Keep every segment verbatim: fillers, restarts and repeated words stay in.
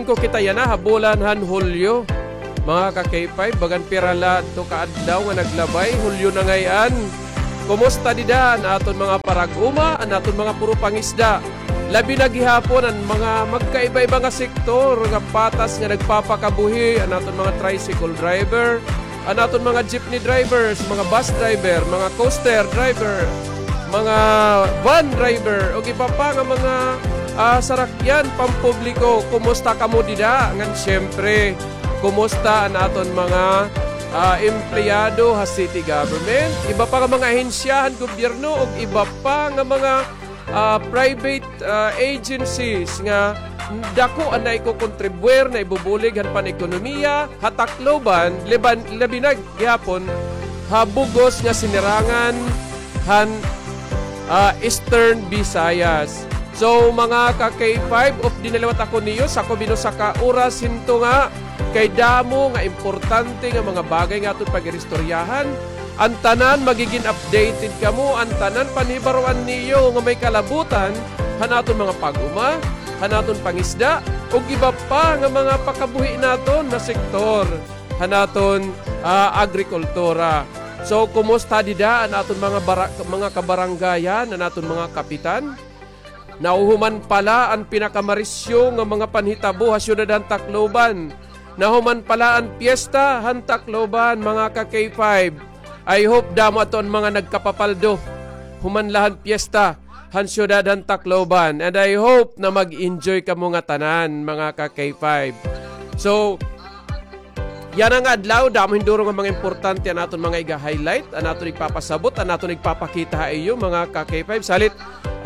Ko kita yana ha bulan han Hulyo. Mga ka-K five, bagan pira la adto ka adlaw nga naglabay, Hulyo na ngay-an. Kumusta dida an aton mga parag-uma, an aton mga puro pangisda? Labi na gihapon an mga magkaiba-iba nga sektor nga patas nga nagpapakabuhi, an aton mga tricycle driver, an aton mga jeepney drivers, mga bus driver, mga coaster driver, mga van driver, ug iba pa nga mga, ah, sarakyan pampubliko. Kumusta kamo dida? Ngan siyempre, kumusta an aton mga, ah, empleyado ha city government? Iba pa nga mga ahensya han gobyerno ug iba pa nga mga, ah, private, ah, agencies nga dako an naikokontribuir, naibubulig han pan-ekonomiya ha Tacloban, laban-, labi na gihapon ha bug-os nga sinirangan han, ah, Eastern Visayas. So, mga ka-K five, updi na liwat ako niyo, sakop hin usa ka oras hin tunga, kay damo nga importante nga mga bagay nga aton pag-iristoryahan. An tanan magigin updated kamo, an tanan panhibaroan niyo nga may kalabutan han aton mga pag-uma, han aton pangisda, ug iba pa nga mga pakabuhi naton nga sektor han aton, ah, agrikultura. So, kumusta dida an aton mga bara-, mga kabaranggayan, an aton mga kapitan? Nahuhuman pa la an pinakamarisyo nga mga panhitabo ha syudad han Tacloban. Nahuman pa la an piyesta han Tacloban, mga ka-K five. I hope damo adto an mga nagkapapaldo human la han piyesta han syudad han Tacloban. And I hope na mag-enjoy kamo ngatanan, mga ka-K five. So, yana nga adlaw, damo hin duro nga mga importante an aton mga iga-highlight, an aton igpapasabot, an aton igpapakita ha iyo, mga ka-K five. Salit,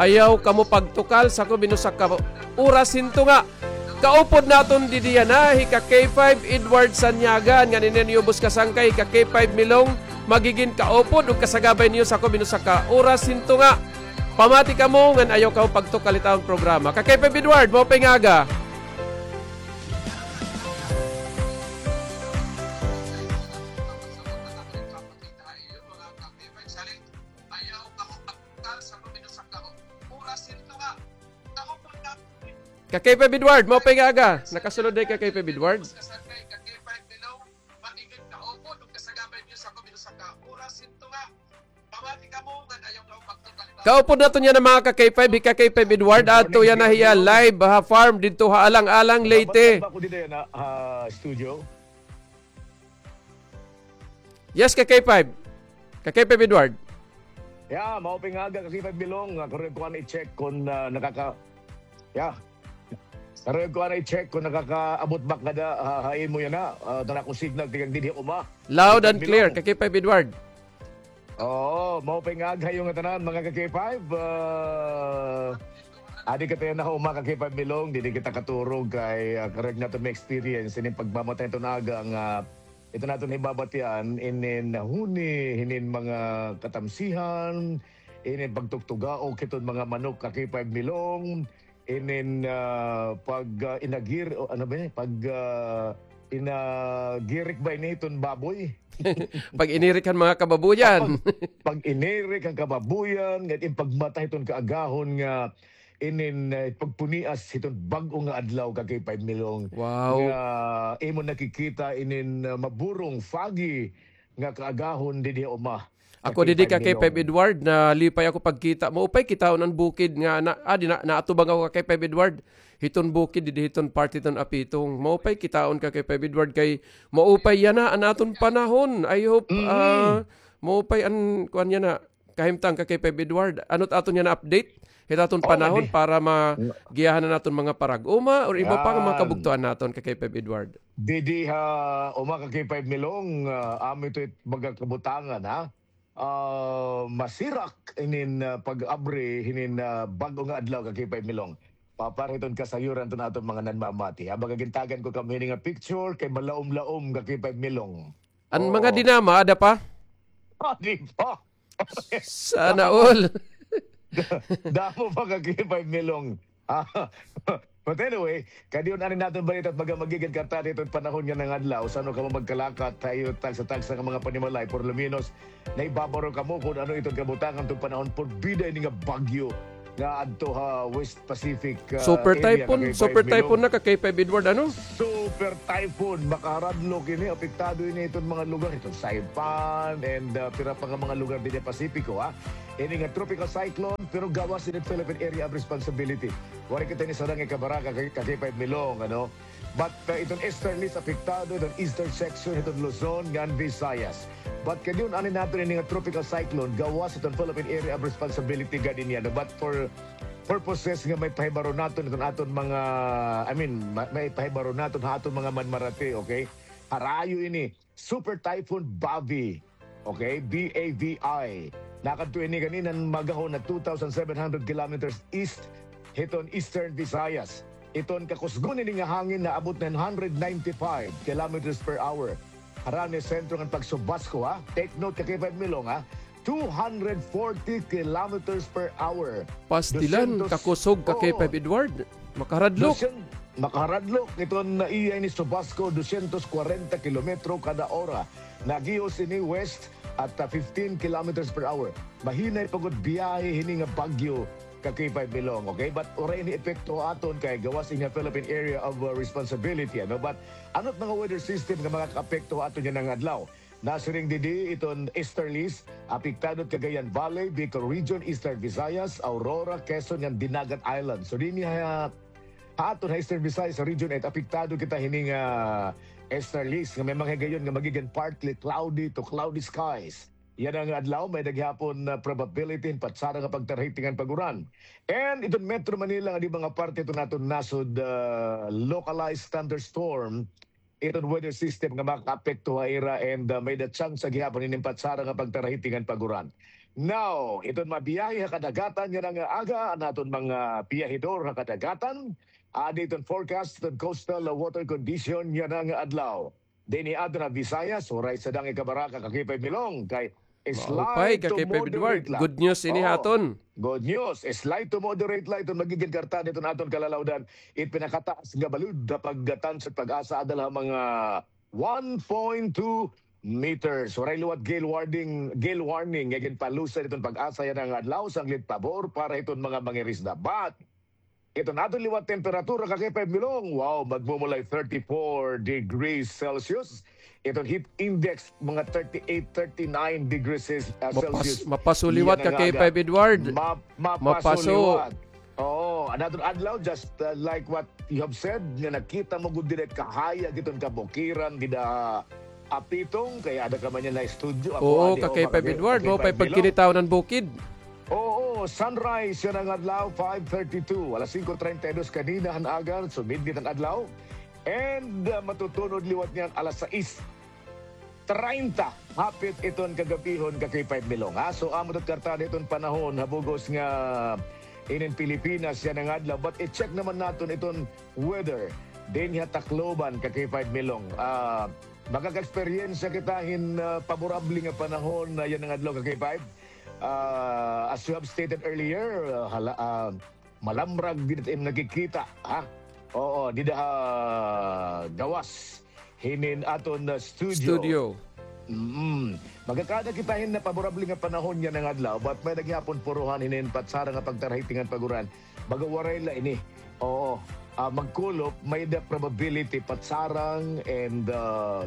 ayaw kamo pagtukal, sakop hin usa ka oras hin tunga. Kaupod naton didi yana hi ka-K five Edward Sanyagan, ngan ini an iyo ubos kasangkay, hi ka-K five Milong, magigin kaupod ug kasagabay niyo sakop hin usa ka oras hin tunga. Pamati kamo ngan ayaw kamo pagtukal hit aton programa. Ka-K five Edward, maupay nga aga. Ka-K five Edward, maupay nga aga. Nakasulod na ka-K five Edward. Kaupod naton yana, mga ka-K five, hi ka-K five Edward, adto yana hiya live ha farm didto ha Alang-alang, Leyte. Ba ako dito yana, ha studio? Yes, ka-K five. Ka-K five Edward. Yeah, maupay nga aga, ka-K five Milong. Ah, karon ko ana i-check kon, ah, nakaka-, yeah. Karon ko ana i-check kon nakakaabot ba kada, ah, ha imo yana, ah, tana ko signal tikang dinhi ha uma. Loud and clear, ka-K five Edward. Oo, maupay nga aga ha iyo ngatanan, mga ka-K five. Ah, adi kita yana ha uma, ka-K five Milong, didi kita katurog kay, ah, karuyag naton ma-experience ini pagmamatay hiton aga nga, ah, ito naton hibabatian, inin nahuni hinin mga katamsihan, inin pagtuktugaok hiton mga manok, ka-K five Milong, inin, ah, pag, ah, inagir-, o ano ba ini? Pag, ah, inagirik ba ini hiton baboy? Pag-inirik han mga kababuyan. Pag, pag-inirik han kababuyan, ngan in pagmatay hiton kaagahon nga inin, eh, pagpunias hiton bag-o nga adlaw, ka-K five Milong. Wow. Nga imo nakikita inin, ah, maburong, foggy nga kaagahon didi ha uma. Ako didi, ka-K five Milong. Ka-K five Edward, nalipay ako pagkita. Maupay kitaon an bukid nga na, ah, di na, naatubang ako, ka-K five Edward. Hiton bukid didi, hiton part hiton Apitong. Maupay kitaon, ka-K five Edward, kay maupay yana an aton panahon. I hope, ah, maupay an kuan yana. Kahimtang, ka-K five Edward, ano it aton yana update hit aton panahon para magiyahan an aton mga parag-uma or iba pa nga mga kabugtoan naton, ka-K five Edward? Didi ha uma, ka-K five Milong, ah, amo ito it mga kabutangan, ha? Ah, masirak inin, ah, pag-abri hinin, ah, bag-o nga adlaw, ka-K five Milong. Papar hiton kasayuran hiton aton mga nanmamati, ha? Baga gintagan ko kamo hini nga picture kay malaom-laom, ka-K five Milong. An mga dinama, ada pa? Ah, di pa. Sana all. Damo pa, ka-K five Milong. Ah, but anyway, kadiyon ani naton balita it mga magigin kartado hiton panahon yana nga adlaw, san-o kamo magkalakat ha iyo tagsa-tagsa nga mga panimalay, por lo menos, naibabaro kamo kon ano iton kabutangan hiton panahon, porbida ini nga bagyo. nga adto ha West Pacific, ah, Super area, typhoon, ka K five super Milong. Typhoon na ka K five Edward, ano? Super typhoon, makaharadlok ini, apektado ini iton mga lugar, iton Saipan, and, ah, pira pa nga mga lugar dinhi ha Pasipiko, ha? Ini nga tropical cyclone, pero gawas ini Philippine Area of Responsibility. Waray kita ini sarang ikabaraka ka, ka K five Milong, ano? But, uh, iton easterlies apektado, iton eastern section, iton Luzon, ngan Visayas. But kadiyon, ani naton ini nga tropical cyclone, gawas iton Philippine Area of Responsibility gad ini, ano. But for purposes nga maipahibaro naton iton aton mga, I mean, ma-, maipahibaro naton ha aton mga manmarati, okay? Harayo ini, Super Typhoon Bavi. Okay, B A V I. Nakadto ini ganinan magahon na two thousand seven hundred kilometers east hiton Eastern Visayas. Iton kakusgon ini nga hangin naabot na one hundred ninety-five kilometers per hour. Harani sentro ngan pagsubasko, ha? Take note, ka K five Milong, ha? Two hundred forty kilometers per hour. Pastilan, dusyentos, kakusog ka K five Edward. Makaradlok. Dusyen-, makaradlok. Iton iya ini subasko, dusyentos kwarenta kilometro kada ora. Nagihos ini west at, ah, fifteen kilometers per hour. Mahinay pa gud biyahe hini nga bagyo ka K five Milong, okay? But waray ini epekto ha aton kay gawas ini ha Philippine Area of, uh, Responsibility, ano? But ano it mga weather system nga makakaapekto ha aton yana nga adlaw? Nasiring didi iton easterlies, apektado it Cagayan Valley, Bicol Region, Eastern Visayas, Aurora, Quezon, ngan Dinagat Island. So, dinhi ha, ha aton ha Eastern Visayas, sa Region eight, apektado kita hini nga easterlies nga may mga higayon nga magigin partly cloudy to cloudy skies. Yana nga adlaw, may-ada gihapon, ah, probability hin patsara nga pagtarahiting ngan pag-uran. And iton Metro Manila nga di mga parte iton aton nasod, ah, localized thunderstorm, iton weather system nga makaapekto ha ira and, ah, may-ada tsansa gihapon hinin patsara nga pagtarahiting ngan pag-uran. Now, iton mabiyahe ha kadagatan yana nga aga, an aton mga biyahedor ha kadagatan, adi iton forecast iton coastal water condition yana nga adlaw. Dinhi ha aton ha Visayas, waray sadang ikabaraka ka K five Milong, kay slight to moderate la. Maupay ka, K five Edward. Good news ini ha aton. Good news. Slight to moderate la iton magigin karta hiton aton kalalawdan. It pinakataas nga balud ha pagtansod PAGASA ada la ha mga one point two meters. Waray liwat gale warning, gale warning nga ginpalusad hiton PAGASA yana nga adlaw, sanglit pabor para hiton mga mangirisda. But iton aton liwat temperatura ka K five Milong, wow, magmumulay thirty-four degrees Celsius. Iton heat index, mga thirty-eight, thirty-nine degrees Celsius. Mapas-, mapaso liwat ka K five Edward. Ma-, mapaso liwat. Oo, an aton adlaw, just, uh, like what you have said, nga nakita mo gud dida kahayag hiton kabukiran, dida Apitong, kay ada ka man yana ha estudyo. Oo, ka K five Edward, maupay pagkinitaw han bukid. Oo, sunrise yana nga adlaw, five thirty-two. Alas singko treinta y dos kanina han aga, sumidnit an adlaw. And, uh, matutunod liwat niyan alas sais treinta, hapit iton kagabihon ka K five Milong, ha? So, amo it karta hiton panahon ha bug-os nga inin Pilipinas yana nga adlaw. But i-check naman naton iton weather dinhi ha Tacloban ka K five Milong. Ah, makaka-eksperyensya kita hin, ah, paborable nga panahon, ah, yana nga adlaw ka K five. Ah, as you have stated earlier, ah, hala, ah, malamrag dida it im nakikita, ha? Oo, dida ha gawas hinin aton, ah, studio. Studio. Mm. Magkakaada kita hin paborable nga panahon yana nga adlaw, but may-ada gihapon puruhan hinin patsara nga pagtarahiting ngan pag-uran. Baga waray la ini. Oo. Ah, magkulop, may-ada probability patsarang and, ah,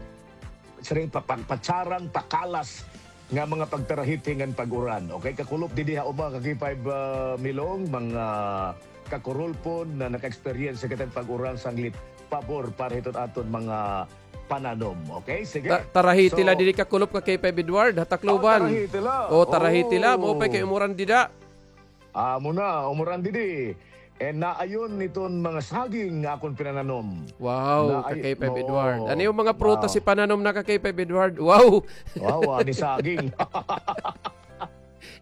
siring pa, pa, patsarang, pakalas nga mga pagtarahiting ngan pag-uran. Okay, kakulop didi ha uma ka K five, ah, Milong, mga kakurulpon nga naka-experience kita hin pag-uran sanglit pabor para hiton aton mga pananom. Okay, sige. Ta-, tarahiti la didi kakulop ka K five Edward, ha Tacloban. Oh, tarahiti la. Oh, tarahiti la. Maupay kay umuran dida. Amo na, umuran didi. And naayon iton mga saging nga akon pinananom. Wow, ka K five Edward. Ano it mga prutas ipananom na ka K five Edward? Wow. Wow, ani saging.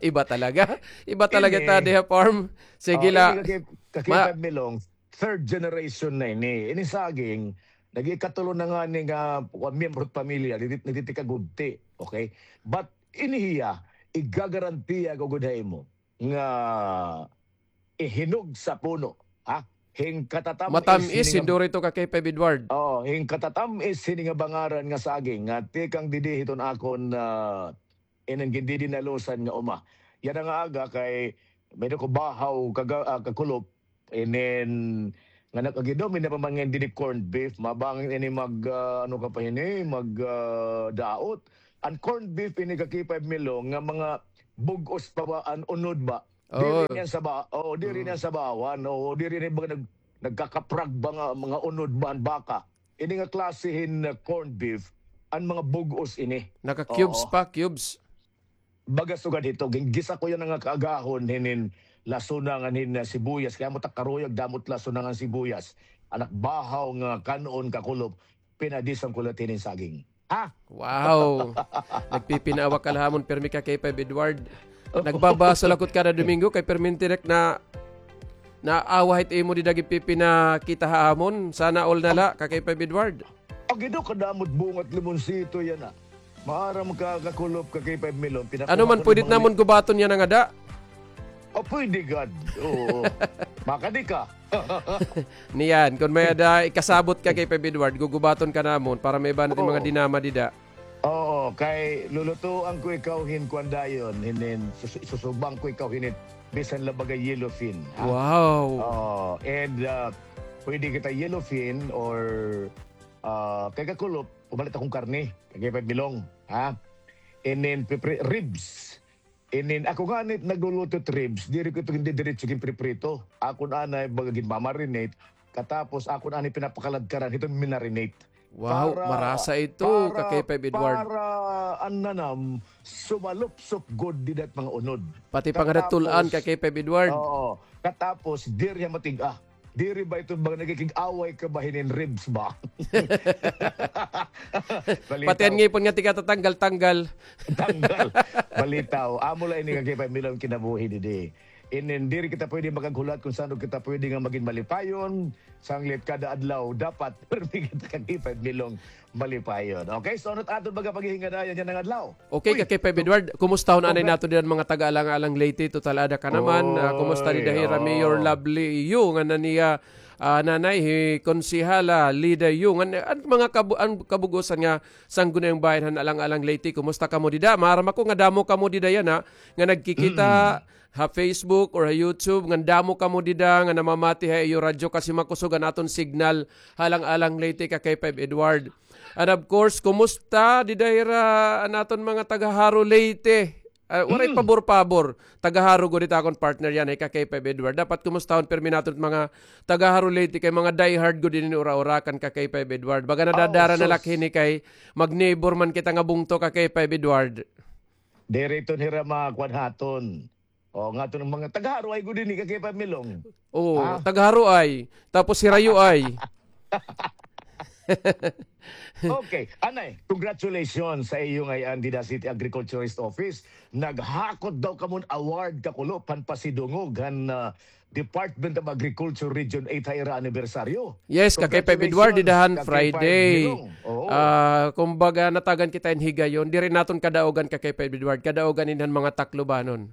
Iba talaga. Iba talaga ta didi ha farm. Sige la. Ka K five Milong, third generation na ini. Ini saging, nag-ikatulo na ngani nga, ah, miyembro hit pamilya, nagtitikagudti. Okay? But ini hiya, igagarantiya ko gud ha imo nga ihinog sa puno, ha? Hin katatamis. Matamis, hinduri ito ka K five Edward. Oo, hin katatamis hini nga bangaran nga saging nga tikang didi hiton akon, ah, inin gindidinalusan nga uma. Yana nga aga kay, May ko bahaw, kaga-, ah, kakulop. And then, nga nakagidaw, may napamangan din ni corned beef. Mabangin ini mag, ah, ano ka pa ini, mag, ah, daot. An corned beef ini ka K five Milong, nga mga bug-os pa ba, an unod ba? Diri Oo. Niyan sa ba, oo, diri Mm. Niyan sa bawan, oo, diri ni ba nag-, nagkakaprag ba nga mga unod ba an baka? Ini nga klase hin, uh, corned beef, an mga bug-os ini. Naka-cubes Oo. Pa, cubes. Baga sugad hito, gin-, gisa ko yana nga kaagahon hinin lasuna ngan hin, uh, sibuyas. Kay amo ta karuyag, damo it lasuna ngan sibuyas. An ak bahaw nga kan-on kakulop, pinadisan ko la hinin saging. Ha? Wow! Nagpipinaawa ka la ha amon pirmi ka K five Edward. Nagbabasol ako kada Domingo kay pirmi tirek na naawa hit imo dida ginpipinakita ha amon. Sana all na la ka K five Edward. Agi daw kadamo it bunga it limonsito yana. Maaram ka, kakulop, ka K five Milong, pinakuha ko man, pwede namon gubaton yana ngada? O, pwede gad. Oo. Makadi ka. Niyan, kon may-ada ikasabot ka kay Peb Edward, gugubaton ka namon para may-ada naton mga dinama dida. Oo, kay lulutuan ko ikaw hin kuan dayon, hinin, sus-, susuban ko ikaw hinin, bisan la baga yellowfin, ha? Wow. Oo, and, ah, pwede kita yellowfin or, ah, kay kakulop, pumalit akon karne, kay Peb Milong, ha? And then, pipri-, ribs. Inin, ako ngani nagluluto it ribs, diri ko ito gindidiretso ginpriprito. Akon anay baga ginmamarinate, katapos akon anay pinapakaladkaran, hiton minarinate. Wow, para, marasa ito, para, ka K five Edward. Para an nanam, sumalupsop gud dida it mga unod. Pati pa ngada it tul-an, ka K five Edward. Oo. Katapos, diri hiya matig-a. Diri ba ito ba nakikig-away ka ba hinin ribs ba? Pati an ngipon nga tigatatanggal-tanggal. Tanggal. Balitaw. Amo la ini ka K five Milong kinabuhi didi. Inin, diri kita pwede makaghulat kon san-o kita pwede nga magin malipayon. Sanglit kada adlaw, dapat pirmi kita ka K five Milong malipayon. Okay, so ano it aton baga paghihingadayan yana nga adlaw? Okay, ka K five Edward, kumustahon anay naton dida an mga taga-Alang-alang Leyte, total ada ka naman. Ah, kumusta dida hira Mayor Lovely Yu, ngan an iya, ah, nanay, hi Konsehala Lida Yu, ngan, eh, an mga kabu-, an kabug-osan nga sangguniang bahin han Alang-alang Leyte, kumusta kamo dida? Maaram ako nga damo kamo dida yana, nga nagkikita ha Facebook or ha YouTube, ngan damo kamo dida nga namamati ha iyo radyo kasi makusog an aton signal ha Alang-alang Leyte, ka K five Edward. And of course, kumusta dida hira an aton mga taga Jaro Leyte? Ah, waray pabor-pabor. Taga Jaro gud it akon partner yana, ka K five Edward. Dapat kumustahon pirmi naton it mga taga Jaro Leyte kay mga diehard gud ini ura-urakan, ka K five Edward. Baga nadadara na la ak hini kay mag-neighbor man kita nga bungto, ka K five Edward. Diri iton hira makuan ha aton. O, nga iton mga taga Jaro ay gud ini ka K five Milong. Oo, taga Jaro ay. Tapos hira Yu ay. Okay, anay, congratulations sa iyo ngay-an dida City Agriculturist Office. Naghakot daw kamo hin award, kakulop, han pasidungog han, ah, Department of Agriculture Region eight ha ira anibersaryo. Yes, ka K five Edward, dida han Friday. Oo. Ah, kumbaga, natagan kita hin higayon. Diri naton kadaogan, ka K five Edward. Kadaogan ini han mga Taclobanon.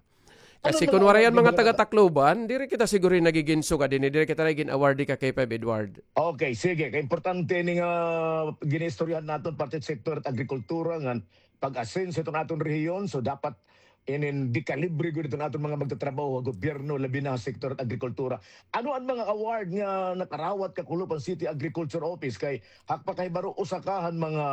Kasi kon waray an mga taga-Tacloban, diri kita siguro nagiginsugad ini, diri kita nagin-awardee, ka K five Edward. Okay, sige. Kay importante ini nga ginaistoryahan naton parte sektor hit agrikultura ngan pag-asenso hiton aton rehiyon. So, dapat inin dekalibre gud iton aton mga magtatrabaho ha gobyerno, labi na ha sektor hit agrikultura. Ano an mga award nga nakarawat, kakulop, han City Agriculture Office? Kay ha ak pakahibaro, usa ka han mga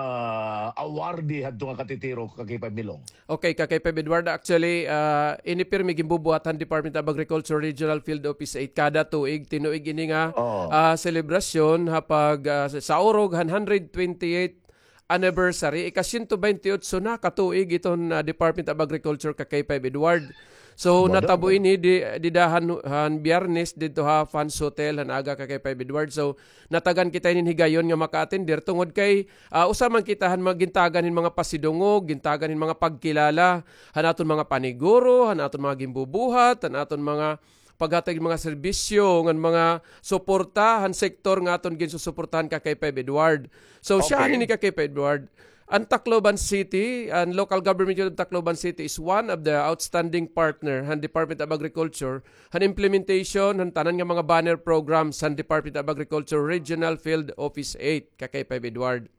awardee hadto nga katitiro, ka K five Milong. Okay, ka K five Edward, actually, ah, ini pirmi ginbubuhat han Department of Agriculture Regional Field Office eight kada tuig, tinuig ini nga, ah, selebrasyon ha pag, ah, sa-, saurog han hundred twenty-eighth anniversary, ika-siyento baynte-otso na ka tuig iton, ah, Department of Agriculture, ka K five Edward. So, natabo ini di, dida han, han Biyernes didto ha Fans Hotel han aga, ka K five Edward. So, natagan kita inin higayon nga maka-attender tungod kay, ah, usa man kita han mga gintagan hin mga pasidungog, gintagan hin mga pagkilala han aton mga paniguro, han aton mga ginbubuhat, han aton mga paghatag hin mga serbisyo ngan mga suporta han sektor nga aton ginsusuportahan, ka K five Edward. So, siya ini, ka K five Edward. An Tacloban City, an local government unit of Tacloban City is one of the outstanding partner han Department of Agriculture han implementation han tanan nga mga banner programs han Department of Agriculture Regional Field Office eight, ka K five Edward.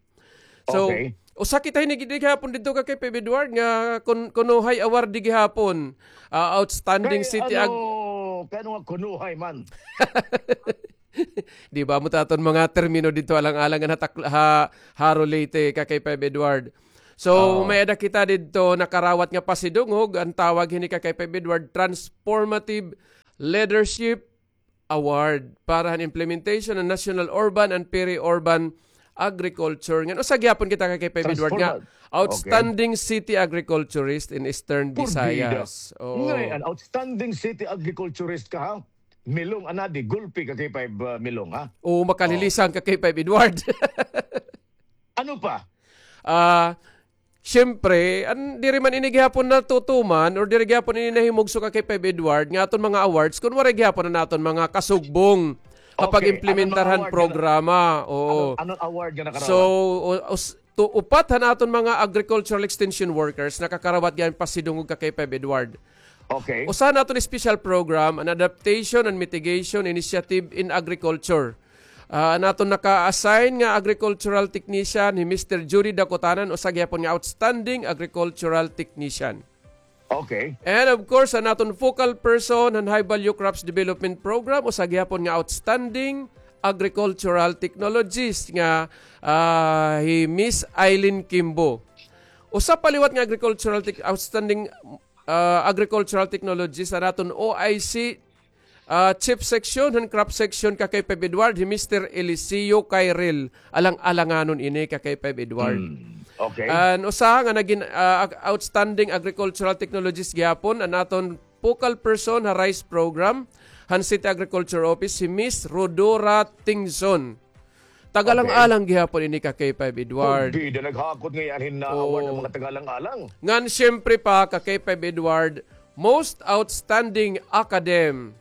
So, Usa kita hini gihapon didto, Ka K five Edward, nga kun-, kunuhay award di gihapon. Ah, outstanding city ag- Kay ano nga kunuhay man? Di ba mo ta aton mga termino didto alang-alang nga natak-, ha, haro Leyte, Ka K five Edward. So, may-ada kita didto nakarawat nga pasidungog, an tawag hini, Ka K five Edward, Transformative Leadership Award para han implementation han National Urban and Peri-Urban Agriculture. Ngan usa gihapon kita, Ka K five Edward, nga outstanding city agriculturist in Eastern Visayas. Oo. Ngay, an outstanding city agriculturist ka, ha? Milong, anadi, gulpi, Ka K five, uh, Milong, ha? Oo, makalilisang, Ka K five Edward. Ano pa? Ah, siyempre, an, diri man ini gihapon natutuman or diri gihapon ini nahimugso, Ka K five Edward, nga aton mga awards kun waray gihapon an aton mga kasugbong ha pag-implementar han programa. Oo. Anong award nga nakarawat? So, u-, us-, tu-, upat han aton mga agricultural extension workers nakakarawat gihapon pasidungog, Ka K five Edward. Okay. Usa han aton special program, an Adaptation and Mitigation Initiative in Agriculture. Ah, an aton naka-assign nga agricultural technician, hi Mister Judy Dakutanan, usa gihapon nga outstanding agricultural technician. Okay. And of course, an aton focal person han High Value Crops Development Program, usa gihapon nga outstanding agricultural technologist nga, ah, hi Miss Eileen Kimbo. Usa pa liwat nga agricultural tech-, outstanding, ah, agricultural technologist an aton O I C, ah, chief section han crop section, Ka K five Edward, hi Mister Eliseo Cairel. Alang-alanganon ini, Ka K five Edward. Hmm. Okay. An usa nga nagin, ah, ag-, outstanding agricultural technologist gihapon an aton focal person ha rice program han City Agriculture Office, hi Miss Rodora Tingson. Tagalang-alang gihapon ini, Ka K five Edward. Bida, naghakot ngay-an hin award an mga tagalang-alang. Ngan siyempre pa, Ka K five Edward, most outstanding academ,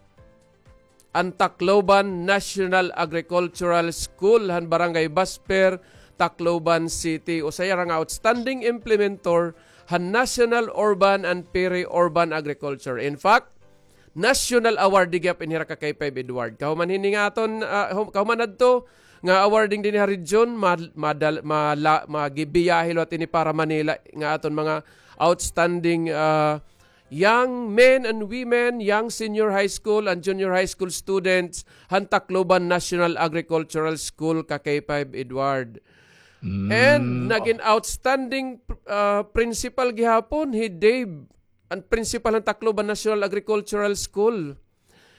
an Tacloban National Agricultural School han Barangay Basper, Tacloban City. Usa hira nga outstanding implementor han National Urban and Peri-Urban Agriculture. In fact, national award di gihap ini hira, Ka K five Edward. Kahuman hini nga aton, ah, hum-, kahuman adto nga awarding dinhi ha region, ma-, madal-, mala-, magibiyahe liwat ini para Manila nga aton mga outstanding, ah, young men and women, young senior high school and junior high school students han Tacloban National Agricultural School, Ka K five Edward. And nagin outstanding, ah, principal gihapon hi Dave, an principal han Tacloban National Agricultural School.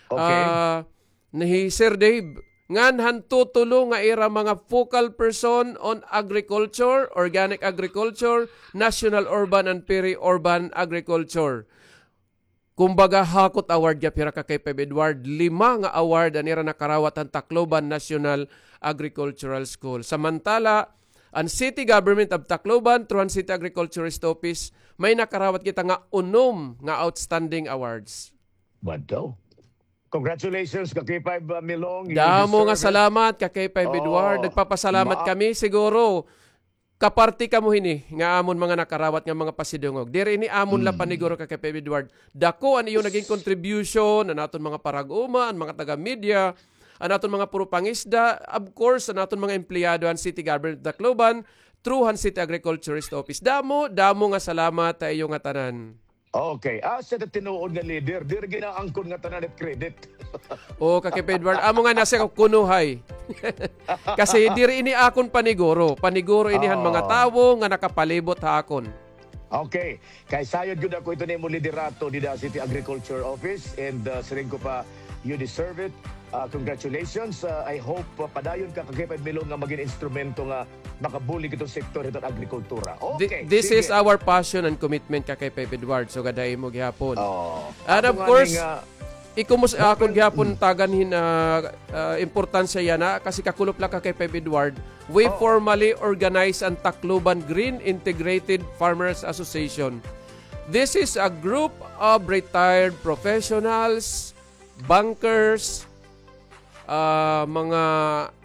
Okay. Ah, na hi Sir Dave. Ngan han tutulo nga ira mga focal person on agriculture, organic agriculture, national urban and peri-urban agriculture. Kumbaga, hakot award gihap hira, Ka K five Edward. Lima nga award an ira nakarawat han Tacloban National Agricultural School. Samantala, an City Government of Tacloban, through an City Agriculturist Office, may nakarawat kita nga unom nga outstanding awards. Bad daw. Congratulations, Ka K five, uh, Milong. You deserve it. Damo nga salamat, Ka K five Edward. Nagpapasalamat kami. Siguro, kaparti kamo hini nga amon mga nakarawat nga mga pasidungog. Diri ini amon la paniguro, Ka K five Edward. Dako an iyo naging contribution, an aton mga parag-uma, an mga taga-media, an aton mga puro pangisda, of course, an aton mga empleyado han City Government of Tacloban, through han City Agriculturist Office. Damo, damo nga salamat ha iyo ngatanan. Okay. Ah, sa tinuod nga leader, diri ginaangkon nga tanan it credit. O, Ka K five Edward, amo nga nasiring ko kuno hay. Kasi diri ini akon paniguro. Paniguro ini han mga tawo nga nakapalibot ha akon. Okay. Kay sayod gud ako ito nimo liderato dida City Agriculture Office, and, uh, siring ko pa, you deserve it. Uh, congratulations. Uh, I hope, uh, padayon ka, Ka K five Milong, nga magin instrumento nga makabulig iton sektor hiton agrikultura. Okay, this is our passion and commitment, Ka K five Edward. So, gadahi mo gihapon. And of course, ikumus-, akon gihapon tagan hin, ah, ah, importansya yana, kasi kakulop la, Ka K five Edward. We formally organize an Tacloban Green Integrated Farmers Association. This is a group of retired professionals, bankers, ah, mga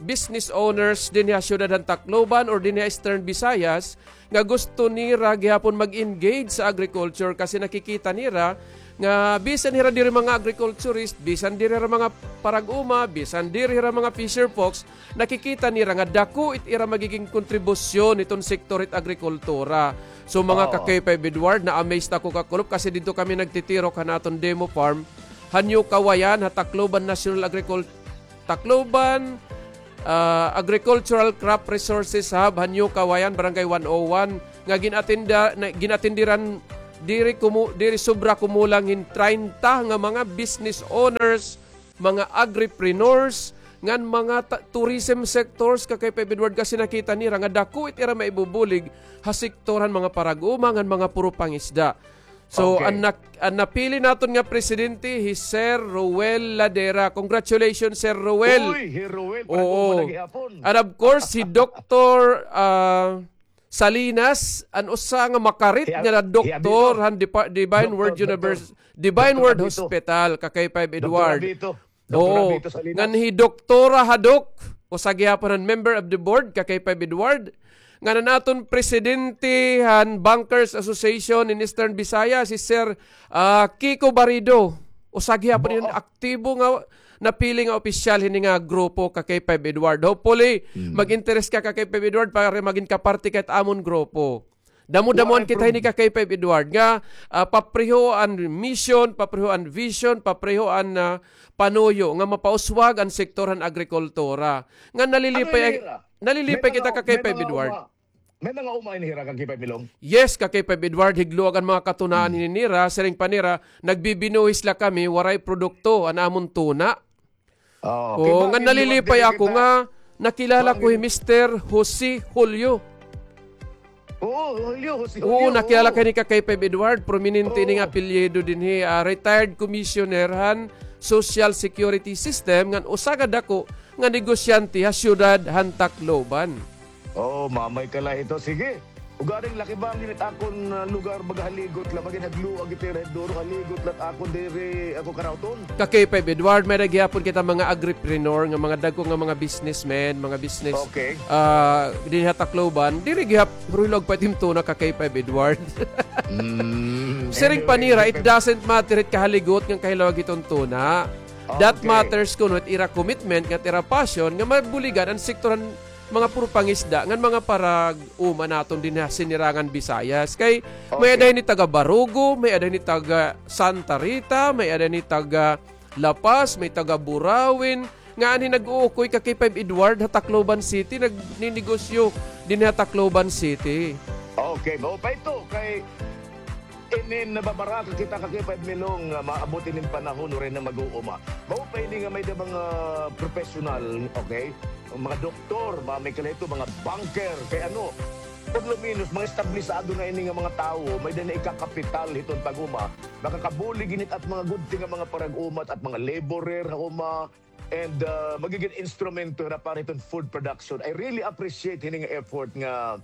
business owners dinhi ha siyudad han Tacloban or dinhi ha Eastern Visayas nga gusto nira gihapon mag-engage sa agriculture kasi nakikita nira nga bisan hira diri mga agriculturist, bisan diri hira mga parag-uma, bisan diri hira mga fisher folks, nakikita nira nga dako it ira magiging kontribusyon hiton sektor hit agrikultura. So, mga ka-K five Edward, na-amaze ako, Kakulop, kasi didto kami nagtitirok han aton demo farm, han New Kawayan, ha Tacloban National Agricul-, Tacloban, ah, Agricultural Crop Resources Hub, han New Kawayan, Barangay one oh one, nga gin-atinda-, na, gin-atindiran diri kumu-, diri sobra kumulang hin treinta nga mga business owners, mga agripreneurs, ngan mga ta-, tourism sectors, ka-K five Edward, kasi nakita nira nga dako it ira maibubulig ha sektor han mga parag-uma ngan mga puro pangisda. So, Okay. an nak-, an napili naton nga presidente, hi Sir Roel Ladera. Congratulations, Sir Roel. Uy, hi Roel, Oo. parag-uma na gihapon. And of course, hi Doktor, ah, Salinas, an usa nga makarit Hi Ab-, nga hi doktor Abito. han Depa-, Divine Word Doktor, Doktor. Univers-, Divine Doktor Word Abito. Hospital, ka-K five Doktor Edward. Abito. Doktor Oo. Abito Salinas. Ngan hi Doktora Hadok, usa gihapon han member of the board, ka-K five Edward. Ngan an aton presidente han Bankers Association in Eastern Visayas, hi Sir, ah, Kiko Barido. Usa gihapon hin Oo. aktibo nga napili nga opisyal hini nga grupo, ka-K five Edward. Hopefully, Mm. mag-interes ka, ka-K five Edward, para magin kaparte ka hit amon grupo. Damo-damoan Waray kita hini, prob- ka-K five Edward, nga, ah, papreho an mission, papreho an vision, papreho an, ah, panuyo nga mapauswag an sektor han agrikultura. Nga nalilipay, Ano hira? nalilipay May kita, mga, ka-K five may mga Edward. uma-, may mga uma ini hira, ka-K five Milong? Yes, ka-K five Edward, higluag an mga katunaan Hmm. hini nira, siring pa nira, nagbibinuhis la kami, waray produkto an amon tuna. Oo, Oo, kay nga bakit nalilipay luwag ako din nga kita? nakilala ko hi Bakit? Mister Jose Julio. Oo, Julio, Jose Oo, Julio, nakilala oo. ka ni ka-K five Edward, prominente ini nga Oo. apelyido dinhi, ah, retired commissioner han Social Security System, ngan usa ka dako nga negosyante ha siyudad han Tacloban. Oo, mamay ka la hito. Sige. Ugaring laki ba an it akon, ah, lugar, baga haligot la, magin hagluag ito, ira duro, haligot la it akon diri, ako karauton. Ka-K five Edward, may-ada gihapon kita mga agripreneur nga mga dagko nga mga businessmen, mga business, Okay. ah, dinhi ha Tacloban. Diri gihap-, ruhilog pa it im tuna, ka-K five Edward. Mm, Siring pa anyway, nira, it K five doesn't matter it kahaligot ngan kahilawag hiton tuna. That Okay. matters kuno it ira commitment, ngan ira passion, nga mabuligan an sektor han mga puro pangisda ngan mga parag-uma naton dinhi ha Sinirangan Visayas. Kay may-ada Okay. hini taga Barugo, may-ada hini taga Santa Rita, may-ada hini taga La Paz, may taga Burauen, nga anhi nag-uukoy, ka-K five Edward, ha Tacloban City, nagninegosyo dinhi ha Tacloban City. Okay, mao pa ito kay Inin nababaraka kita, ka-K five Milong, nga maabot inin panahon, waray na mag-uuma. Mao pa ini nga may-ada mga professional, okay? Mga doktor, mga may kalahito, mga banker, kay ano, por lo menos, mga establisado na ini nga mga tawo, may-ada na ikakapital hiton pag-uma, makakabulig ini it at mga gudti nga mga parag-uma, at mga laborer ha uma, and, ah, magigin instrumento na para hiton food production. I really appreciate hini nga effort nga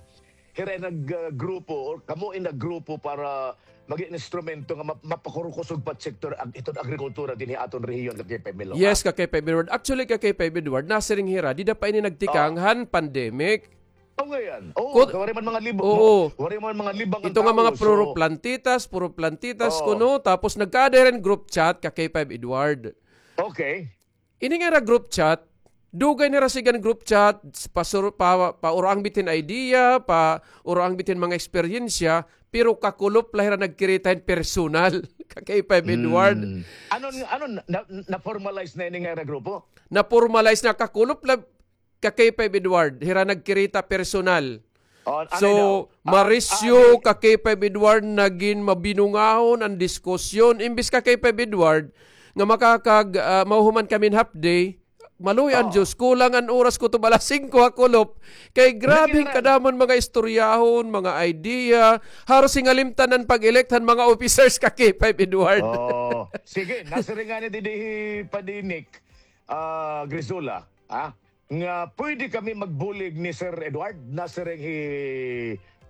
hira nag, ah, grupo or kamo in naggrupo para magin instrumento nga map-, mapakurkusog pa it sektor ag-, iton agrikultura dinhi aton rehiyon, ka-K five Milong, Yes, ha? ka-K five Edward. Actually, ka-K five Edward, nasiring hira, dida pa ini nagtikang Oh. han pandemic. Oh, ngayon. Oo, Kut-, waray man mga libang, oo. waray man mga libang an Ito nga tawo, mga puro so plantitas, puro plantitas Oo. kuno, tapos nagkaada hira hin group chat, ka-K five Edward. Okay. Ini nga ira group chat, dugay na hira siring group chat, pasur-, pa, pauroang bitin idea, pauroang bitin mga eksperyensya, pero kakulop la hira nagkirita hin personal, ka-K five Edward. Hmm. Ano, ano, na, na-formalize na ini nga ira grupo? Na-formalize na, kakulop la, ka-K five Edward, hira nagkirita personal. Oh, ano So, daw? Ah, marisyo ah, ka-K five Edward, nagin mabinungahon an diskusyon. Imbis ka-K five Edward, nga makakag-, ah, mauhuman kami hin half day, maluoy an Oo. Diyos, kulang an oras kutob alas singko ha kulop. Kay grabe Nagin kadamo an mga istoryahon, mga idea. Haros hingalimtan an pag-elect han mga officers ka-K five Edward. Oo. Sige, nasiring ngani didi hi Padi Nick, ah, Grisola, ha? Nga pwede kami magbulig ni Sir Edward, nasiring hi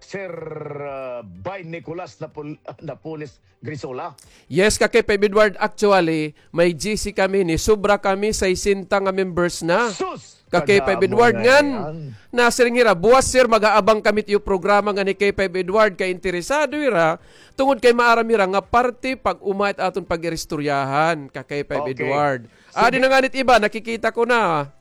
Sir, ah, Bay Nicolas Napol-, Napoles Grisola. Yes, ka-K five Edward, actually, may G C kami, nisobra kami, sesenta nga members na. Sus! Ka K five Edward ngan, nasiring hira, buwas, sir, mag-aabang kami it iyo programa ngan hi K five Edward, kay interesado hira, tungod kay maaram hira nga parte pag-uma it aton pag-iristoryahan, ka K five Edward. Adi na ngani it iba, nakikita ko na.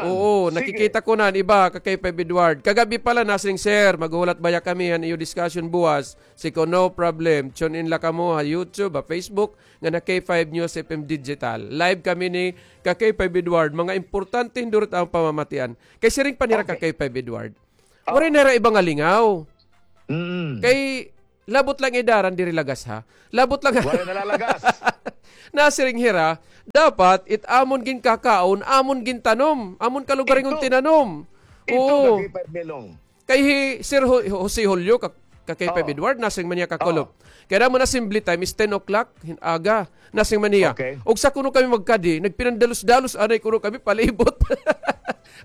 Oo, nakikita ko na an iba, ka K five Edward. Kagab-i pala, nasiring, sir, maghuhulat baya kami han iyo discussion buwas. Si ko, no problem. Tune in la kamo ha YouTube, ha Facebook, ngan ha K five News F M Digital. Live kami ni ka K five Edward, mga importante hindurot an pamamatian. Kay siring pa nira ka K five Edward, waray na hira iba nga lingaw. Kay labot lang idaran diri lagas, ha? Labot lang. Waray nalalagas. Nasiring hira, dapat it amon ginkakaon, amon gintanom, amon kalugaringon tinanom. Oo. Kay hi Sir Ho-, Jose Julio, ka, ka K five Edward, nasiring man niya kakulop. Kay damo na assembly time is ten o'clock hin aga. Nasiring man niya. Ugsa kuno kami magkadi, nagpinandalos-dalos anay kuno kami palibot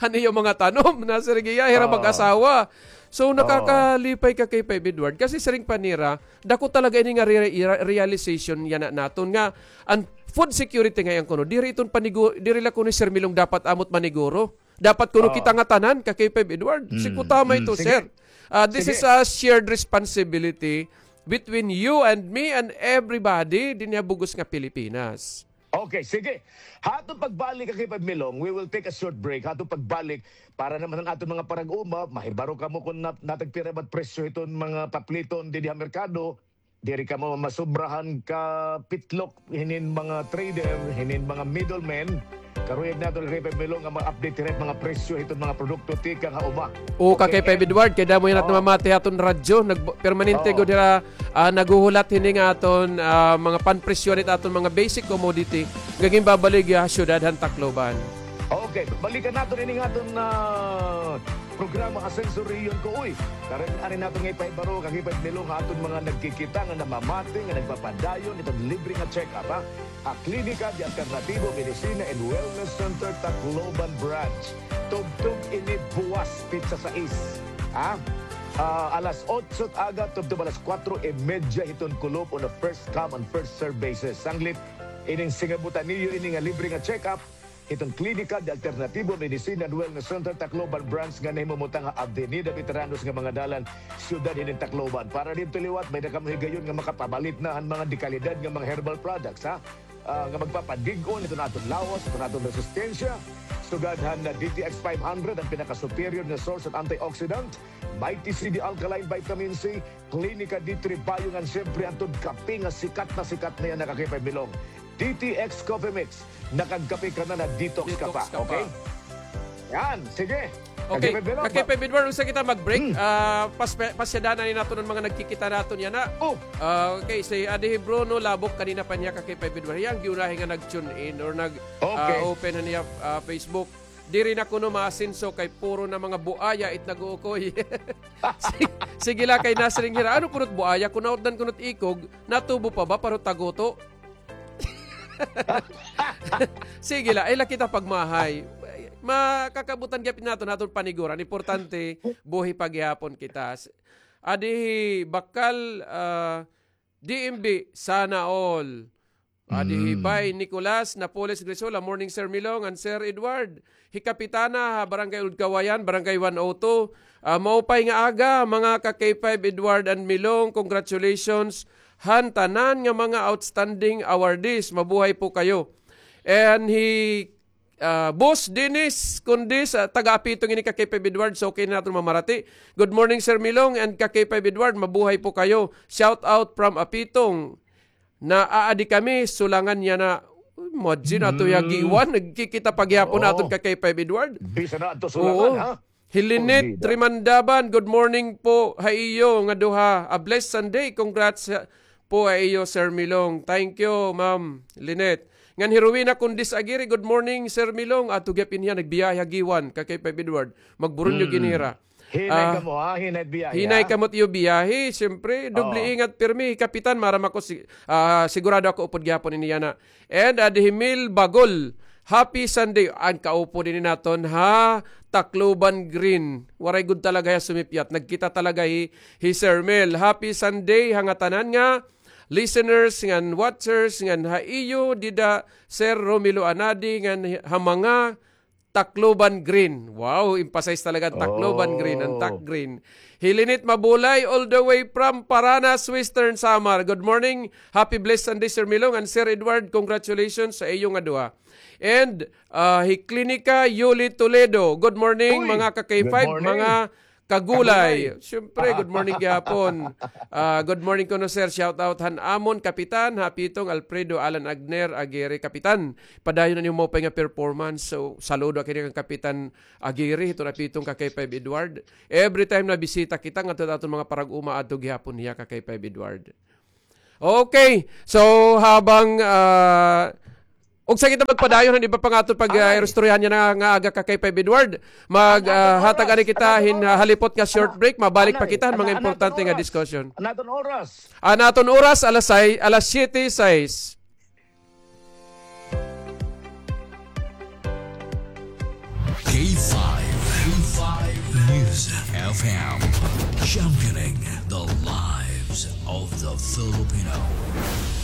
han iyo mga tanom. Nasiring hiya, hira mag-asawa. So, nakakalipay ka K five Edward. Kasi siring pa nira, dako talaga ini nga re-, re-, realization yana naton nga an food security ngay-an kuno, diri iton panigu-, diri la kuno Sir Milong dapat amot maniguro. Dapat kuno kita nga tanan, ka K five Edward. Sige, tama ito, sir. Ah, this is a shared responsibility between you and me and everybody dinhi ha bug-os nga Pilipinas. Okay, sige. Ha aton pagbalik, ka K five Milong, we will take a short break. Ha aton pagbalik, para naman an aton mga parag-uma, mahibaro kamo kon nat-, natagpira ba it presyo hiton mga papliton dinhi ha merkado, diri kamo masubrahan ka pitlok hinin mga trader, hinin mga middlemen. Karuyag naton, ka K five Milong, nga ma-update hira hit mga presyo hiton mga produkto tikang ha uma. O, ka K five Edward, kay damo yana namamati ha aton radyo, nag-, permanente gud hira, ah, naghuhulat hini nga aton, ah, mga panpresyo hit aton mga basic commodity nga ginbabaligya ha syudad han Tacloban. Okay, balikan naton ini nga aton, ah, programa Asenso Rehiyon Ko, uy. Karon, ari naton nga ipahibaro, ka K five Milong, ha aton mga nagkikita nga namamati, nga nagpapadayon hiton libre nga check-up, ha? Ha Klinika de Alternativo Medicina and Wellness Center, Tacloban Branch. Tubtob ini buwas, petsa sais. Ha? Ah, alas otso it aga, tubtob alas kuwatro y medya hiton kulop, on a first come and first serve basis. Sanglit, ining singabutan niyo ini nga libre nga check-up, hiton Klinika de Alternativo Medicina and Wellness Center, Tacloban Branch, nga nahimumutang ha Avenida Veteranos nga mga dalan, syudad hinin Tacloban. Para didto liwat, may-ada kamo higayon nga makapabalit na han mga dekalidad nga mga herbal products, ha? Ah, nga magpapadig-on hiton aton lawas, hiton aton resistensya. Sugad han, ah, D T X five hundred, an pinaka-superior nga source han antioxidant, Mighty C D Alkaline Vitamin C, Klinika D three Bio, ngan siyempre an tod kape nga sikat na sikat na yana, ka K five Milong, D T X Coffee Mix. Nakagkape ka na, na-detox ka pa, okay? Yan, sige. Okay, ka K five Edward, usa kita mag-break. Ah, pas-, pasyadanan naton an mga nagkikita naton yana. Ah, okay, si Adi Bruno Labok, kanina pa niya, ka K five Edward. Hiya an giunahi nga nag-tune in or nag, ah, open han iya, ah, Facebook. Diri na kuno maasenso kay puro na mga buaya it nag-uukoy. Si-, sige la, kay nasiring hira, ano kuno it buaya? Kon nautdan kuno it ikog, natubo pa ba? Pero taguto. Sige la, ay la kita pagmahay. Makakabutan gihapon naton, naton paniguran. Importante, buhi pa gihapon kita. Adi hi Bakal, ah, D M B, sana all. Adi hi Bay Nicolas Napoles Grisola, morning, Sir Milong and Sir Edward. Hi Kapitana ha Barangay Old Kawayan, Barangay one oh two. Ah, maupay nga aga, mga ka K five Edward and Milong. Congratulations han tanan nga mga outstanding awardees. Mabuhay po kayo. And hi, ah, Boss Dennis Condis, ah, taga Apitong ini, ka K five Edward. So, okay na naton mamarati. Good morning, Sir Milong and ka K five Edward. Mabuhay po kayo. Shout out from Apitong. Naaadi kami, Sulangan yana. Imagine, ato ya giwan, nagkikita pa gihapon aton ka K five Edward. Bisan na adto Sulangan, ha? Hi Lynette Trimandaban, good morning po ha iyo nga duha. A blessed Sunday. Congrats, ha, po ha iyo, Sir Milong. Thank you, Ma'am Lynette. Ngan hi Rowena Condis Aguirre, good morning, Sir Milong. Ato gihapon hiya, nagbiyahe ha giwan, ka K five Edward. Magburunyo ginira. Hinay kamo, ha? Hinay biyahe, hinay kamo it iyo biyahe. Siyempre, doble ingat pirmi. Kapitan, maaram ako, si-, ah, sigurado ako upod gihapon ini yana. And, ah, adi hi Mil Bagol, happy Sunday. An kaupod ini naton ha Tacloban Green. Waray gud talaga hiya sumipyat. Nagkita talaga hi, hi Sir Mil. Happy Sunday ha ngatanan nga listeners, ngan watchers, ngan ha iyo dida, Sir Romelo Anadi, ngan ha mga Tacloban Green. Wow, emphasize talaga ang Tacloban Green, ang Tac Green. Hilinit Mabulay, all the way from Paranas, Western Samar. Good morning. Happy blessed Sunday, Sir Milong and Sir Edward. Congratulations sa iyo nga duha. And, ah, hi Klinika Yuli Toledo. Good morning, mga ka-K five, mga kagulay. Siyempre, good morning gihapon. Ah, good morning kuno, sir. Shout out han amon kapitan, ha Pitong Alfredo Alan Agner Aguirre, kapitan. Padayon na niyo maupay nga performance. So, saludo akini kan Kapitan Aguirre, hiton ha Pitong ka K five Edward. Every time na bisita kita, ngadto aton mga parag-uma, adto gihapon hiya ka K five Edward. Okay. So, habang, ah, ugsa kita magpadayon han iba pa nga aton pag, ah, iristoryahan yana nga aga ka K five Edward, mag, ah, hatag anay kita hin, ah, halipot nga short break, mabalik pa kita han mga importante nga diskusyon. An aton oras, alas sais, alas siyete sais. K five, K five News F M, championing the lives of the Filipino.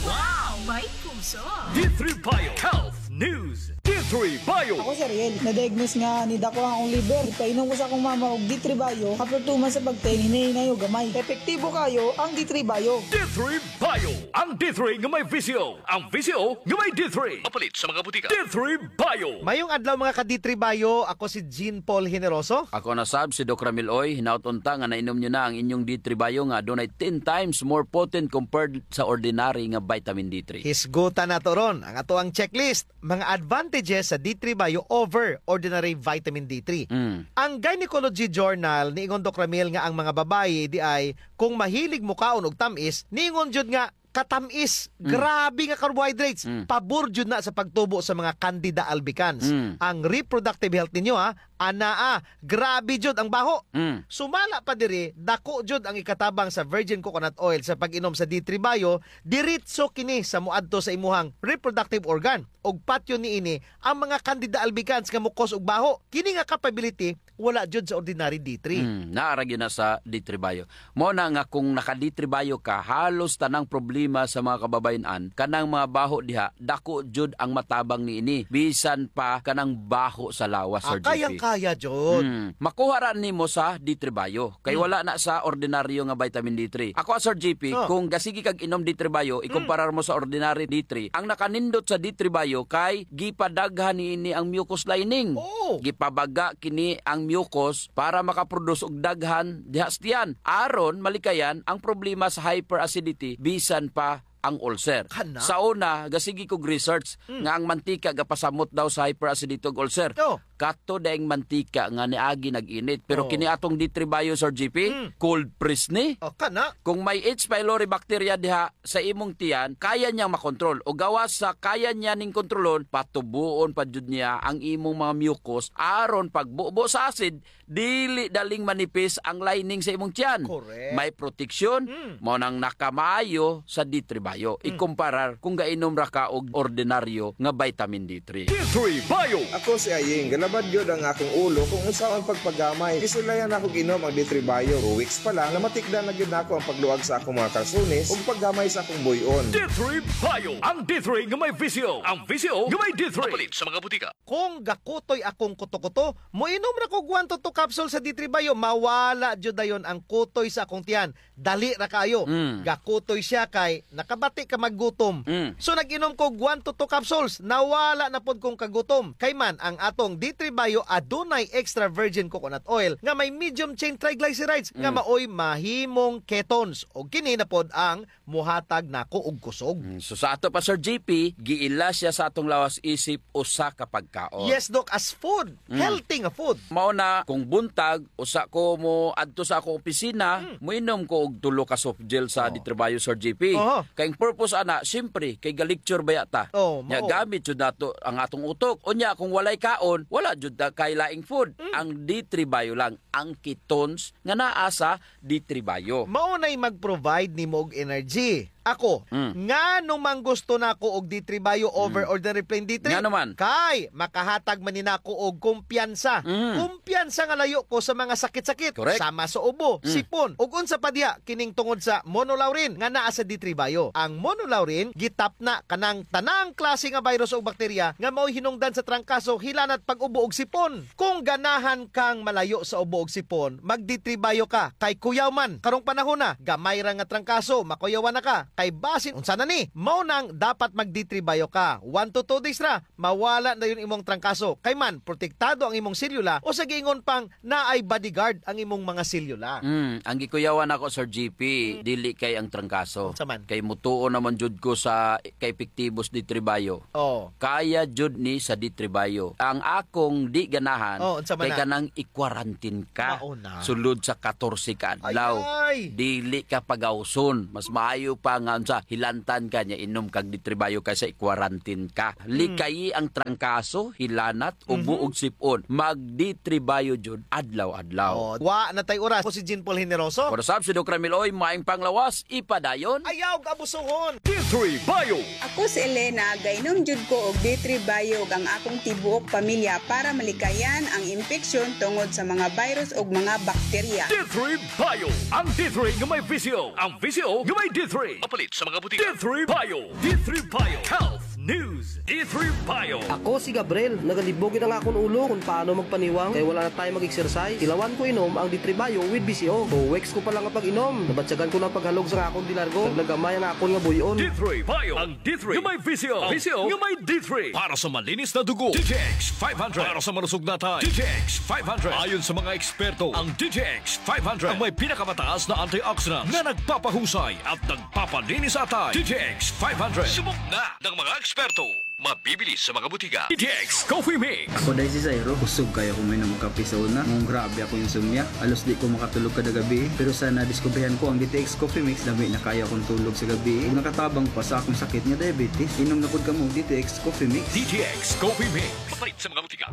Wow! May puso! D three Bio Health News. D three Bio. Ako si Ariel. Na-diagnose nga nidako ang akong liver. Ipainom ko sa akong mama og D three Bio. After two months sa pagtayin, hinay-hinay o gamay. Epektibo kayo ang D three Bio. D three Bio. Ang D three nga may V C O. Ang V C O nga may D three. Mapalit sa mga butika. D three Bio. Mayong adlaw, mga ka-D three Bio. Ako si Jean Paul Generoso. Ako na sab si Doc Ramil Oy. Hinaot unta nga nainom niyo na ang inyong D three Bio nga adunay ten times more potent compared sa ordinary nga vitamin D three. Hisgutan nato ron ang atoang checklist, mga advantages sa D three Bio over ordinary vitamin D three. Mm. Ang Gynecology Journal, niingon, Doc Ramil, nga ang mga babayi diay, kung mahilig mokaon og tam-is, niingon jud nga katam-is, mm, grabe nga carbohydrates, mm, pabor jud na sa pagtubo sa mga candida albicans. Mm. Ang reproductive health ninyo, ha, anaa, grabe jud ang baho. Mm. Sumala pa diri, dako jud ang ikatabang sa virgin coconut oil sa pag-inom sa D three Bio, diretso kini sa moadto sa imuhang reproductive organ. Ug patyon niini ang mga candida albicans nga mo-cause og baho. Kini nga capability, wala jud sa ordinary D three. Mm, naa ra gyud na sa D three Bio. Mao na nga kung naka-D three Bio ka, halos tanang problema sa mga kababayen-an, kanang mga baho diha, dako jud ang matabang niini. Bisan pa kanang baho sa lawas, Sir G P. Ah, kayang-kaya jud. Mm. Makuha ra nimo sa D three Bio. Kay, mm, wala na sa ordinaryo nga vitamin D three. Ako, Sir G P, oh, kung gasige kag inom D three Bio, mm, ikumparar mo sa ordinary D three, ang nakanindot sa D three Bio kay gipadaghan niini ang mucus lining. Oh. Gipabaga kini ang mucus para makaproduce og daghan diha sa tiyan. Aron malikayan ang problema sa hyperacidity, bisan pa ang ulcer. Kana? Sa una, gasige kog research, mm, nga ang mantika gapasamot daw sa hyperacidity ug ulcer. Oh. Kato daing mantika nga niagi nag-init. Pero, oh, kini atong D three Bio, Sir G P, mm, cold press ni. Oh, kana? Kung may H. pylori bacteria diha sa imong tiyan, kaya niyang makontrol. O gawas sa kaya niya ning kontrolon, patubuon pa jud niya ang imong mga mucus aron pagbubo sa acid, dili daling manipis ang lining sa imong tiyan. Correct. May proteksyon, mm, mao nang nakamaayo sa D three Bio. Mm. Ikumparar kung gainom ra ka og ordinaryo nga vitamin D three. D three Bio. Ako si Aying. Galabad gyud ang akong ulo kung unsaon pagpagamay. Gisulayan nako og inom ang D three Bio. Two weeks pa lang, namatikdan na gyud nako ang pagluag sa akong mga kalsones ug paggamay sa akong buy-on. D three Bio. Ang D three nga may V C O. Ang V C O nga may D three. Mapalit sa mga butika. Kung gakutoy akong kuto-kuto, moinom ra kog one to two capsule sa D three Bio, mawala jud dayon ang kutoy sa akong tiyan. Dali ra kaayo. Mm. Gakutoy siya kay nakabati ka maggutom. Mm. So, nag-inom kog one to two capsules, nawala na pod kong kagutom. Kay man, ang atong D three Bio adunay extra virgin coconut oil nga may medium chain triglycerides nga, mm, maoy mahimong ketones. Ug kini na pod ang muhatag nako og kusog. Mm, so sa ato pa, Sir G P, giila siya sa atong lawas isip usa ka pagkaon. Yes, Doc, as food. Mm. Healthy nga food. Mao na, kung buntag, usa ko moadto sa akong opisina, mm, moinom ko og tulo ka soft gel sa, oh, D three Bio, Sir G P. Oho. Kay ang purpose ana, siyempre, kay ga-lecture baya ta. Oh, nya, mao, gamit jud nato ang atong utok. Unya, kung walay kaon, wala jud ta kay laing food. Mm. Ang D three Bio lang, ang ketones nga naa sa D three Bio. Mao nay mag-provide nimo og energy. Ako, mm, ngano man gusto nako og D three Bio over, mm, ordinary plain D three? Ngano man? Kay makahatag man ni nako og kumpiyansa. Mm. Kumpiyansa nga layo ko sa mga sakit-sakit. Correct. Sama sa ubo, mm, sipon, ug unsa pa diha kining tungod sa monolaurin nga naa sa D three Bio. Ang monolaurin gitapna kanang tanang klase nga virus o bakterya nga mao'y hinungdan sa trangkaso, hilanat, pag-ubo ug sipon. Kung ganahan kang malayo sa ubo ug sipon, mag-D three Bio ka. Kay kuyaw man, karong panahona, gamay ra nga trangkaso, makuyawan na ka. Kay basin unsa na ni? Mao nang dapat mag-D three Bio ka. One to two days ra, mawala na dayon imong trangkaso. Kay man, protektado ang imong selula, usa giingon pang naay bodyguard ang imong mga selula. Mm, ang gikuyawan nako, Sir G P, mm, dili kay ang trangkaso. Unsa man? Kay mutuo naman jud ko sa kaepektibo sa D three Bio. Oh. Kaya jud ni sa D three Bio. Ang akong di ganahan, oh, unsa man kay na? Kanang i-quarantine ka. Mao na. Sulod sa katorse ka adlaw. Ay, ay. Dili ka pagawson. Mas maayo pa nga unsa, hilantan ka niya, inom kag D three Bio kaysa i-quarantine ka. Hmm. Likayi ang trangkaso, hilanat, ubo, mhm, ug sipon. Mag-D three Bio jud adlaw-adlaw. Oh, wa na tay oras. Ako si Jean Paul Generoso. Ako na sab si Doc Ramil Oy, maayong panglawas, ipadayon. Ayaw abusuhon. D three Bio. Ako si Elena, gainom jud ko og D three Bio ug ang akong tibuok pamilya para malikayan ang impeksyon tungod sa mga virus ug mga bakterya. D three Bio. Ang D three nga may V C O. Ang V C O nga may D three. Mapalit sa mga butika. D three Bio. D three Bio. Health News. D three Bio. Ako si Gabriel. Nagalibog gid ang akon ulo kung paano magpaniwang kay wala na tayo mag-exercise. Tilawan ko inom ang D three Bio with V C O. Two weeks ko pa lang nga pag-inom, nabatyagan ko na ang paghalog sa akon di largo. Nagnagamay ang akon nga buy-on. D three Bio. Ang D three nga may V C O. V C O nga may D three. Para sa malinis na dugo, D T X five hundred. Para sa malusog na atay, D T X five hundred. Ayon sa mga eksperto, ang D T X five hundred ang may pinakamataas na antioxidants na nagpapahusay at nagpapalinis sa atay. D T X five hundred. Subok na ng mga eksperto. Mabibili sa mga butika. D T X Coffee Mix. Ako, day, si Zairo. Kusog kaayo ako moinom og kape sa una. Nganong grabe akong insomnia. Halos di ko makatulog kada gabii. Pero sa nadiskubrihan ko ang D T X Coffee Mix, lami na kaayo akong tulog sa gabii. Ug nakatabang pa sa akong sakit nga diabetes. Inom na pod kamo og D T X Coffee Mix. D T X Coffee Mix. Mapalit sa mga butika.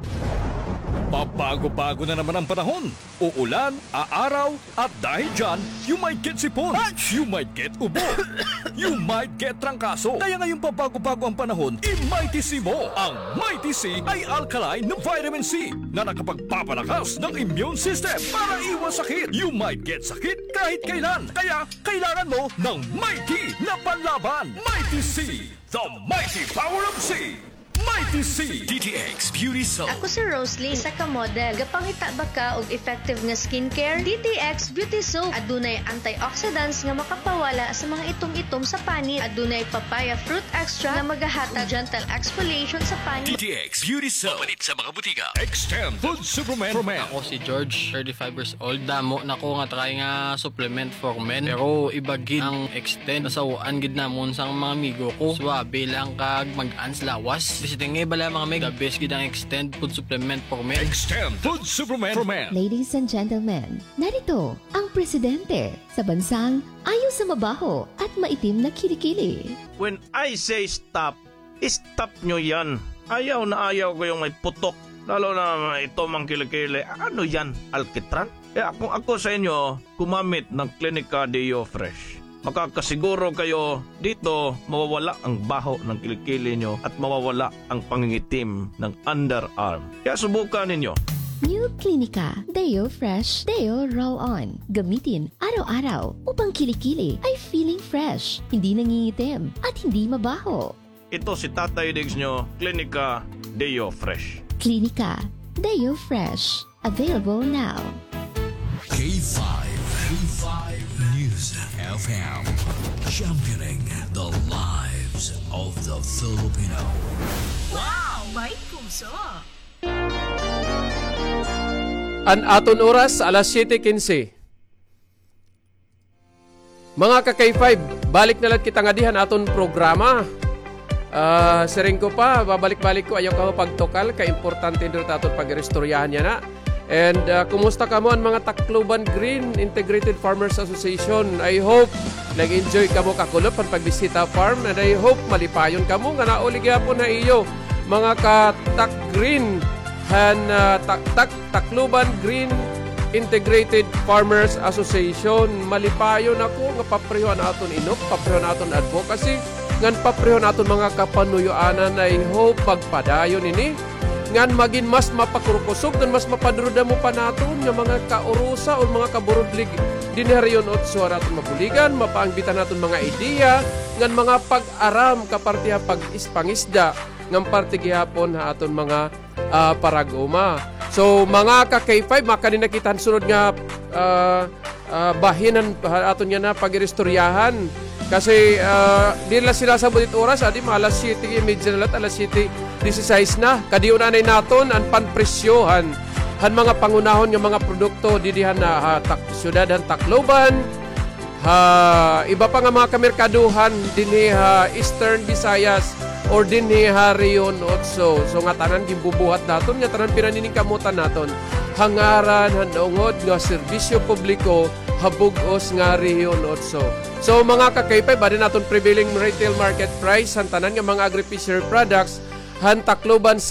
Pabago-bago na naman ang panahon. Uulan, aaraw, at dahil dyan, you might get sipon, you might get ubo, you might get trangkaso. Kaya ngayong pabago-bago ang panahon, i-Mighty C mo. Ang Mighty C ay alkaline na vitamin C na nakapagpapalakas ng immune system para iwas sakit. You might get sakit kahit kailan. Kaya kailangan mo ng Mighty na panlaban. Mighty C, the mighty power of C. Mighty C. D T X Beauty Soap. Ako si Roslyn, isa ka model. Gapangita ba ka og effective nga skincare? D T X Beauty Soap. Adunay antioxidants nga makapawala sa mga itom-itom sa panit. Adunay papaya fruit extract nga magahatag gentle exfoliation sa panit. D T X Beauty Soap. Mapalit sa mga butika. Extend Food Supplement for Men. Ako si George, thirty-five years old. Damo na ko nga try nga supplement for men. Pero iba gid ang Extend. Nasaw-an gid namon sa mga amigo ko. Suabe lang kag mag-ans lawas. Bisiting nga bala, mga mig. The best gid ang Extend food supplement for men. Extend food supplement for men. Ladies and gentlemen, narito ang presidente sa bansang ayaw sa mabaho at maitim na kilikili. When I say stop, stop nyo yan. Ayaw na ayaw ko yung may putok. Lalo na may itom ang kilikili. Ano yan? Alkitran? Kaya kung ako sa inyo, gumamit ng Clinica Deo Fresh. Makakasiguro kayo dito mawawala ang baho ng kilikili nyo at mawawala ang pangingitim ng underarm. Kaya subukan ninyo. New Clinica Deo Fresh Deo Roll-On. Gamitin araw-araw upang kilikili ay feeling fresh, hindi nangingitim, at hindi mabaho. Ito si Tatay Diggs nyo, Clinica Deo Fresh. Clinica Deo Fresh. Available now. K five, K five News F M, championing the lives of the Filipino. Wow! May puso! An aton oras, alas siyete kinse. Mga ka-K five, balik na la kita ngadi han aton programa. Ah, siring ko pa, babalik-balik ko, ayaw kamo pagtukal, kay importante diri ta aton pag-iristoryahan yana. And, ah, kumusta kamo an mga Tacloban Green Integrated Farmers Association? I hope nag-enjoy kamo kakulop han pagbisita farm, and I hope malipayon kamo nga nauli gihapon ha iyo mga ka-Tac Green han, ah, Tac, Tac, Tacloban Green Integrated Farmers Association. Malipayon ako nga papreho an aton inop, papreho an aton advocacy, ngan papreho an aton mga kapanuyoanan. I hope magpadayon ini ngan magin mas mapakurkusog ngan mas mapadurudamo pa naton nga mga kaurusa o mga kaburudlig dinhi ha Rehiyon Otso an aton mabuligan, mapaangbita naton mga ideya ngan mga pag-aram kaparte ha pag-ispangisda ngan parte gihapon ha aton mga ah, parag-uma. So, mga ka-K five, makadi na kita han sunod nga, ah, ah, bahin han, ha aton yana pagiristoryahan. Kasi, ah, diri la sila sabot it oras, adi, mga alas siyete y media na la, alas siyete disisais na. Kadi una anay naton an panpresyohan han mga pangunahon nga mga produkto didi han, ah, ha Tak-, siyudad han Tacloban, ha iba pa nga mga kamerkadohan dinhi ha Eastern Visayas or dinhi ha Rehiyon Otso. So, ngatanan ginbubuhat naton, ngatanan pinaniningkamutan naton ha ngaran han naungod nga serbisyo publiko ha bug-os nga Rehiyon Otso. So, mga ka-K five, adi an aton prevailing retail market price han tanan nga mga agri-fishery products han Tacloban